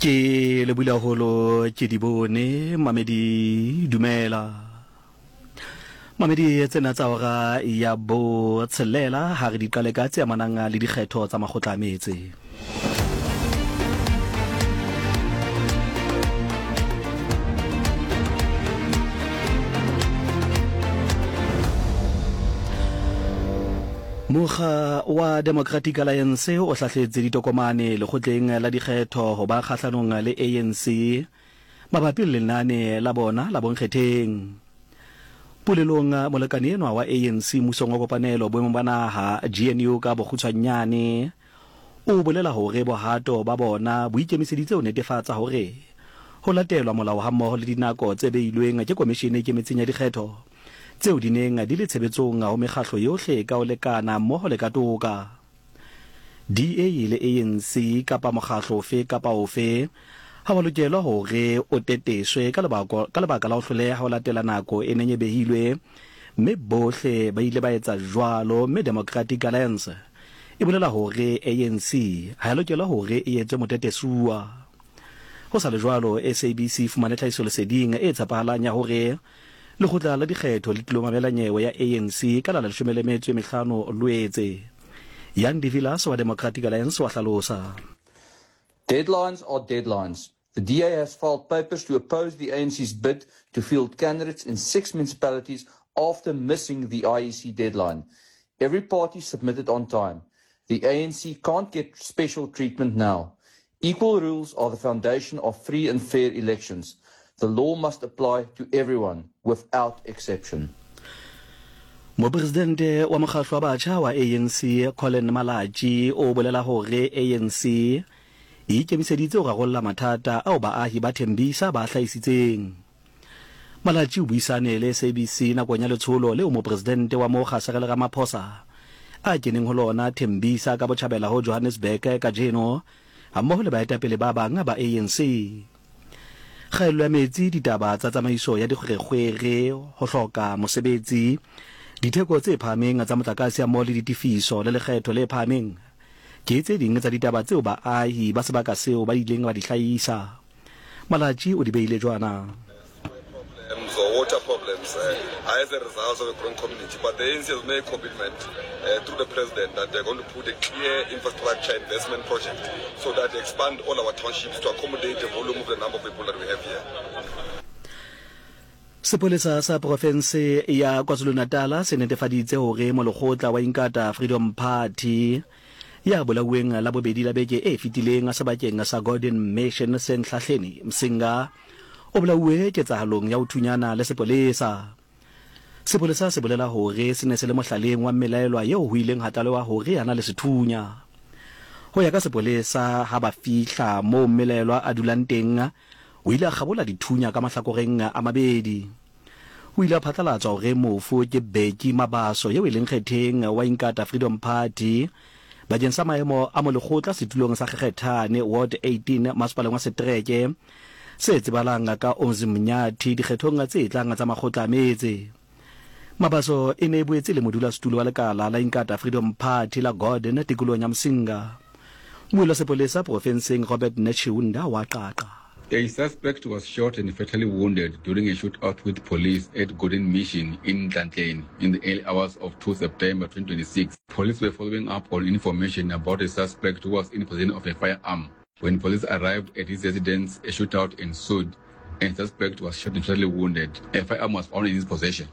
Ke lebule haholo ke di bone mamedi dumela. Mamedi tsena tsa hora ya bo tshelela ha re di qale ka tse amanang le dikgetho tsa makgotla a metse. Mokga wa Democratic Alliance o hlahletse ditokomane lekgotleng la dikgetho ho ba kgahlanong le ANC mabapi le lenane la bona la bonkgetheng. Polelong, molekane enwa wa ANC mmusong wa kopanelo boemong ba naha, GNU ka bokgutshwanyane, o bolela hore bohato ba bona bo ikemiseditse ho netefatsa hore ho latelwa molao hammoho le dinako tse beilweng ke Komishene e Ikemetseng ya Dikgetho tseo di neng di le tshebetsong ho mekgahlo yohle ka ho lekana mmoho le ka toka. DA le ANC kapa mokgahlo ofe kapa ofe ha wa lokelwa hore o teteswe ka lebako ka lebaka la ho hloleha ho latela nako e neng e behilwe mme bohle ba ile ba etsa jwalo mme Democratic Alliance e bolela hore ANC ha ya lokelwa hore e etswe motetesuwa. Ho sa le jwalo, SABC e fumane tlhahisoleseding e tshepahalang ya hore Lekgotla la Dikgetho le tlilo mamela nyewe ya ANC ka la 15 Lwetse. Jan de Villiers wa Democratic Alliance wa hlalosa. Deadlines are deadlines. The DA has filed papers to oppose the ANC's bid to field candidates in six municipalities after missing the IEC deadline. Every party submitted on time. The ANC can't get special treatment now. Equal rules are the foundation of free and fair elections. The law must apply to everyone, without exception. Mopresidente wa mokgahlo wa batjha wa ANC, Collen Malatji, o bolela hore ANC e ikemiseditse ho rarolla mathata ao baahi ba Tembisa ba a hlahisitseng. Malatji o buisane le SABC nakong ya letsholo leo Mopresidente wa mokga Cyril Ramaphosa a keneng ho lona Tembisa ka botjhabela ho Johannesburg kajeno hammoho le baetapele ba bang ba ANC. Kgaello ya metsi, ditaba tsa tsamaiso ya dikgwerekgwere, ho hloka mosebetsi, ditheko tse phahameng tsa motlakase hammoho le ditefiso le lekgetho le phahameng ke tse ding tsa ditaba tseo baahi ba sebaka seo ba ileng ba di hlahisa. Malatji o di beile jwana. problems or water problems uh, are as a result of a growing community. But the ANC has made a commitment through the president that they're going to put a clear infrastructure investment project so that they expand all our townships to accommodate the volume of the number of people that we have here. Sepolesa sa profense ya KwaZulu-Natal se netefaditse hore molekgotla wa Inkatha Freedom Party ya bolauweng Labobedi la beke e fetileng sebakeng sa Gordon Mission se Nhlahleni, Msinga, o bolauwe ketsahalong ya ho thunyana le sepolesa. Sepolesa se bolela hore se ne se le mohlaleng wa mmelaelwa eo ho ileng ha tlalewa hore a na le sethunya. Ho ya ka sepolesa, ha ba fihla moo mmelaelwa a dulang teng, o ile a kgabola dithunya ka mahlakoreng a mabedi. O ile a phatlalatswa hore mofu ke Bheki Mabaso yeo e leng kgetheng wa Inkatha Freedom Party bakeng sa maemo a molekgotla setulong sa Kgekgethane Ward 18 masepaleng wa setereke se tsebalang ka Umzimnyathi dikgethong tse tlang tsa makgotla a metse. Mabaso e ne e boetse e le modulasetulo wa lekala la Inkatha Freedom Party la Gordon tikolong ya Msinga. Mmuelli wa sepolesa profenseng Robert Netshiunda wa qaqa. A suspect was shot and fatally wounded during a shootout with police at Gordon Mission in Nhlanhleni in the early hours of 2 September 2026. Police were following up on information about a suspect who was in possession of a firearm. When police arrived at his residence, a shootout ensued and suspect was shot and fatally wounded. A firearm was found in his possession.